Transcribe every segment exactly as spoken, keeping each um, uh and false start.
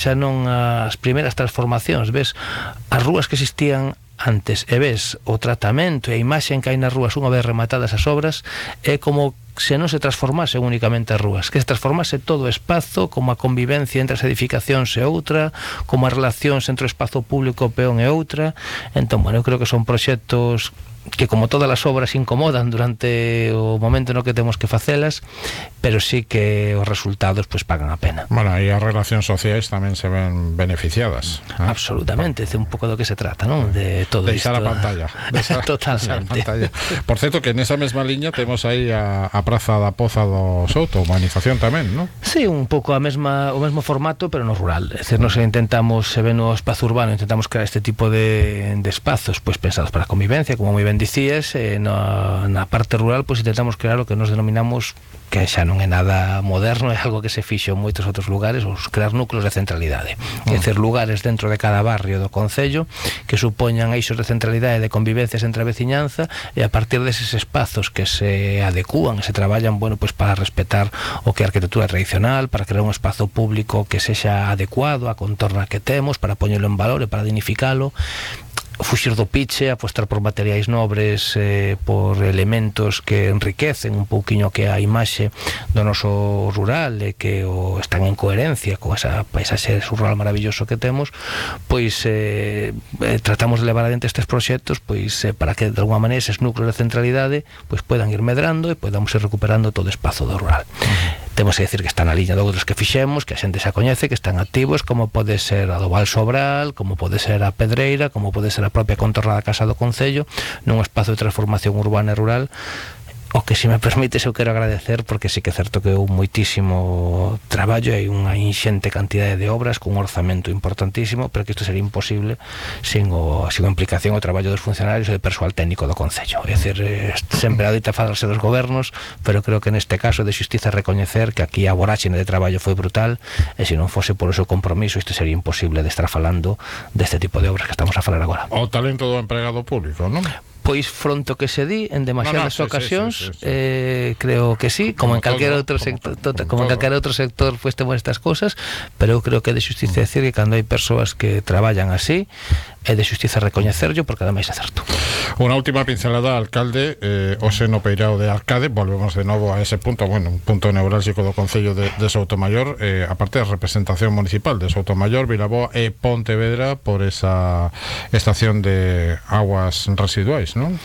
xa non as primeiras transformacións, ves as rúas que existían antes e ves o tratamento e a imaxe que hai nas rúas unha vez rematadas as obras, é como se non se transformase únicamente as rúas, que se transformase todo o espazo, como a convivencia entre as edificacións e outra, como as relacións entre o espazo público, o peón e outra. Entón, bueno, eu creo que son proxectos que, como todas as obras, incomodan durante o momento no que temos que facelas, pero sí que os resultados pues pagan a pena. Bueno, e as relacións sociais tamén se ven beneficiadas, ¿eh? Absolutamente, é un pouco do que se trata, non? De todo deixar isto. a pantalla. Deixar, Totalmente. deixar a pantalla. Por certo, que nesa mesma liña temos aí a, a Praza da Poza do Souto, humanización tamén, non? Sí, un pouco a mesma, o mesmo formato, pero no rural. É dicir, nos intentamos, se ven no espazo urbano, intentamos crear este tipo de, de espazos pues pensados para a convivencia, como moi ben dicías, eh, na, na parte rural pues intentamos crear o que nos denominamos, que xa non é nada moderno, é algo que se fixo en moitos outros lugares, os crear núcleos de centralidade. É dicir, lugares dentro de cada barrio do concello que supoñan eixos de centralidade, de convivencias entre a veciñanza, e a partir deses espazos que se adecúan e se traballan, bueno, pues para respetar o que é a arquitectura tradicional, para crear un espazo público que sexa adecuado á contorna que temos, para poñelo en valor e para dignificalo, fuxir do piche, apostar por materiais nobres, eh, por elementos que enriquecen un pouquiño que a imaxe do noso rural e que o están en coherencia con esa paisaxe rural maravilloso que temos, pois eh, eh, tratamos de levar adiante estes proxectos pois eh, para que de alguma maneira eses núcleos de centralidade pois poidan ir medrando e podamos ir recuperando todo o espazo do rural. Temos que decir que está na liña de outros que fixemos, que a xente xa coñece, que están activos, como pode ser a do Val Sobral, como pode ser a Pedreira, como pode ser a propia contorna da Casa do Concello, nun espazo de transformación urbana e rural. O que, se me permites, eu quero agradecer, porque sí que é certo que houve moitísimo traballo e unha inxente cantidade de obras con un orzamento importantísimo, pero que isto sería imposible sin o, sin a implicación o traballo dos funcionarios e do persoal técnico do Concello. É dicir, sempre adoita falarse dos gobernos, pero creo que neste caso de xustiza recoñecer que aquí a voráxine de traballo foi brutal, e se non fose por o seu compromiso isto sería imposible de estar falando deste tipo de obras que estamos a falar agora. O talento do empregado público, non? Pois fronto que se di en demasiadas no, no, sí, ocasións, sí, sí, sí, sí. Eh, creo que sí, como, como en calquera todo, outro como, sector, como, como, como en calquera outro sector pues temos estas cosas, pero eu creo que é de xustiza decir que cando hai persoas que traballan así, é de xustiza recoñecerlo, porque ademais é certo. Unha última pincelada, alcalde, eh, Ose no Peirao de Arcade, volvemos de novo a ese punto, bueno, un punto neurálxico do Concello de, de Soutomaior, eh, aparte da representación municipal de Soutomaior, Vilaboa e Pontevedra por esa estación de aguas residuais, non?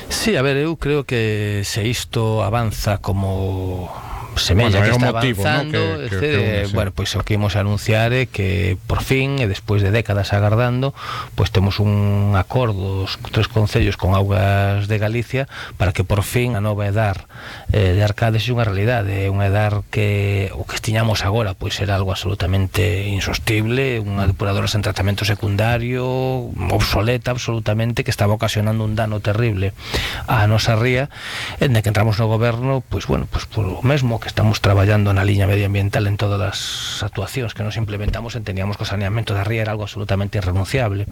Sí, a ver, eu creo que se isto avanza como semella, bueno, que está motivo, avanzando, ¿no? que, que, que une, sí. Bueno, pois pues, o que imos anunciar é que por fin, e despois de décadas agardando, pois pues, temos un acordo os tres concellos con Augas de Galicia para que por fin a nova edar eh, de Arcades é unha realidade, é unha edar que o que tiñamos agora pois pues, era algo absolutamente insostible, unha depuradora sen tratamento secundario, obsoleta absolutamente, que estaba ocasionando un dano terrible á nosa ría, en que entramos no goberno, pois pues, bueno, pois pues, por o mesmo que estamos traballando na liña medioambiental en todas as actuacións que nos implementamos, entendíamos que o saneamento da ría era algo absolutamente irrenunciable.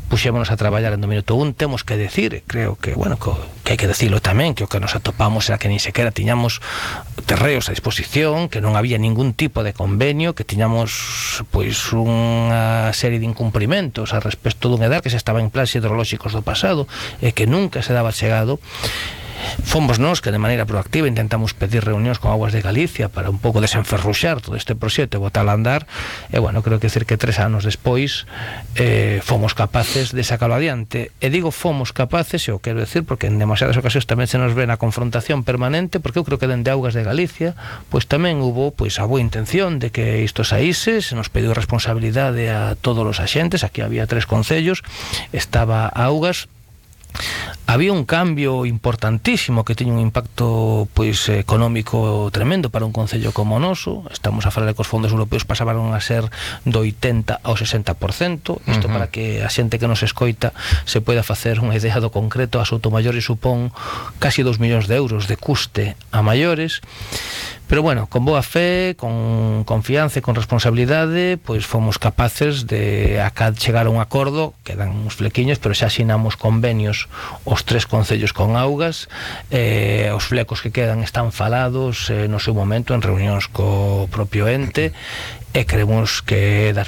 Puxémonos a traballar en do minuto un, temos que decir, creo que, bueno, que, que hai que decirlo tamén, que o que nos atopamos era que nin sequera tiñamos terreos a disposición, que non había ningún tipo de convenio, que tiñamos pois unha serie de incumprimentos a respecto dun edar que se estaba en plans hidrolóxicos do pasado e que nunca se daba chegado. Fomos nós que de maneira proactiva intentamos pedir reunións con Augas de Galicia para un pouco desenferruxar todo este proxecto e botar a andar, e bueno, creo que decir que tres anos despois eh, fomos capaces de sacarlo adiante, e digo fomos capaces, e o quero decir porque en demasiadas ocasións tamén se nos ve na confrontación permanente, porque eu creo que dende Augas de Galicia pois tamén hubo pois a boa intención de que isto saíse, se nos pediu responsabilidade a todos os axentes, aquí había tres concellos, estaba Augas. Había un cambio importantísimo que tiña un impacto pois económico tremendo para un concello como o noso. Estamos a falar de que os fondos europeos pasaban a ser do oitenta ao sesenta por cento. Isto uh-huh. para que a xente que nos escoita se poida facer unha idea do concreto, a Soutomaior supón casi dous millóns de euros de custe a maiores. Pero bueno, con boa fe, con confianza e con responsabilidade, pois fomos capaces de acá chegar a un acordo, quedan uns flequiños, pero xa asinamos convenios os tres concellos con Augas, eh, os flecos que quedan están falados eh, no seu momento en reunións co propio ente, e creemos que das